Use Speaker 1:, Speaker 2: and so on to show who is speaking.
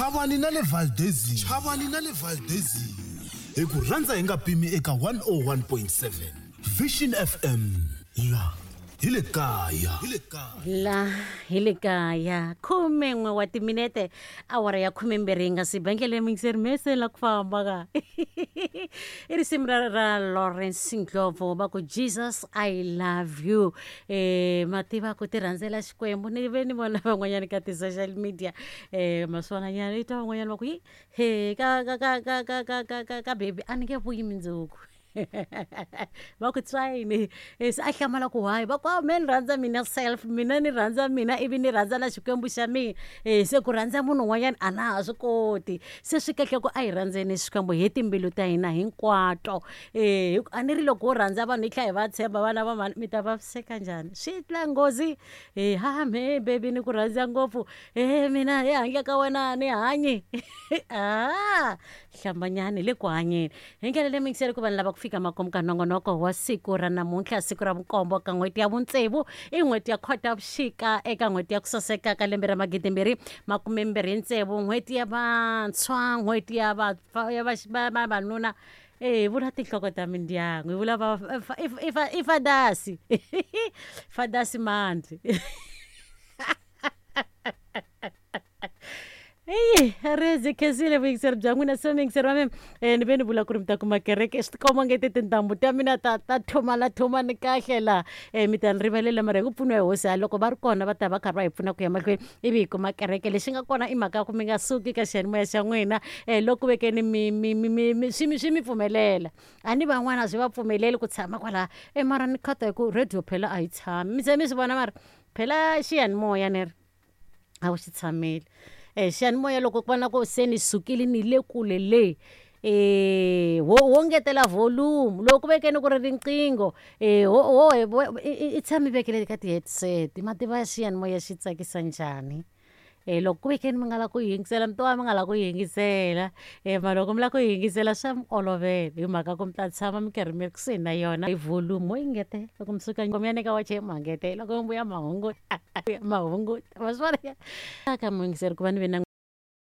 Speaker 1: Chavani na le Valdezini. Chavani na le Valdezini. Hi ku rhandza hi nga pimi eka 101.7 Vision FM. La hi le kaya. Hi le kaya.
Speaker 2: La hi le kaya 11 wa timinete awara ya 12 yi nga si ba ndlela muyingiseri mese la ku famba ka i risimu ra Lawrence Ndlovu va ku Jesus I love you. Ma tiva ku ti rhandzela Xikwembu ni ve ni vona van'wanyana ka ti-social media maswonanyana i twa van'wanyana va ku yi he ka ka ka ka ka ka ka ka ka baby a ni nge vuyi mundzuku. Va ku tswayini se a hlamala ku why va ku a me ni rhandza mina self mina ni rhandza mina ivi ni rhandza na Xikwembu xa mina se ku rhandza munhu un'wanyana a na ha swi koti se swi kahle ku a hi rhandzeni Xikwembu hi timbilu ta hina hinkwato hi ku a ni ri loko wo rhandza vanhu hi tlhela hi va tshemba vana va mhani mi ta vaviseka njhani swi tla nghozi ha me baby ni ku rhandza ngopfu he mina he handle ka wena a ni hanyi a hlambanyani le ku hanyeni hi ndlela leyi miyingiseri ku vanhu lava ku fika makumu ka nongonoko wa siku ra namuntlha siku ra vunkombo ka n'hweti ya vuntsevu i n'hweti ya Khotavuxika eka n'hweti ya ku saseka ka lembe ra 2026 n'hweti ya vantshwa n'hweti ya vavanuna e hi vula tinhloko ta mindyangu hi vula va i fadasi fadasi mandli eyi rezi khensile vuyingiseri bya n'wina se muyingiseri wa mina ni ve ni vula ku ri mi ta kuma kereke swi tikomba nge ti tintambu ta mina ta ta thumana thumani kahle laha mi ta ni rivalela mara hi ku pfuniwa hi hosi ha loko va ri kona va ta va karhi va hi pfuna ku ya mahlweni ivi hi kuma kereke lexi nga kona i mhaka ya ku mi nga suki ka xiyanimoya xa n'wina loko vekeni mi mi mi mi mi swi mi swi mi pfumelela a ni van'wana swi va pfumeleli ku tshama kwalaha e mara ni khata hi ku radio phela a yi tshami mi ze mi swi vona mara phela xiyanimoya ni ri a wu xi tshameli xiyanimoya loko ku va na ku se ni sukile ni le kule le wo wo ngetela volume loko ku vekeni ku ri riqingho ho ho i tshami vekele ka ti-headset ma tiva xiyanimoya xi tsakisa njhani loko ku vekeni mi nga la ku yingisela mi to va mi nga la ku yingisela mara loko mi la ku yingisela swa mi olovela hi mhaka ku mi ta tshama mi karhi mi ri kusuhi na yona hi volume mo yi ngetela loko mi suka mi ya nyika wache ma ngetela loko mi vuya ma hunguta ma hunguta ma swi vona ka muyingiseri ku va ni ve na.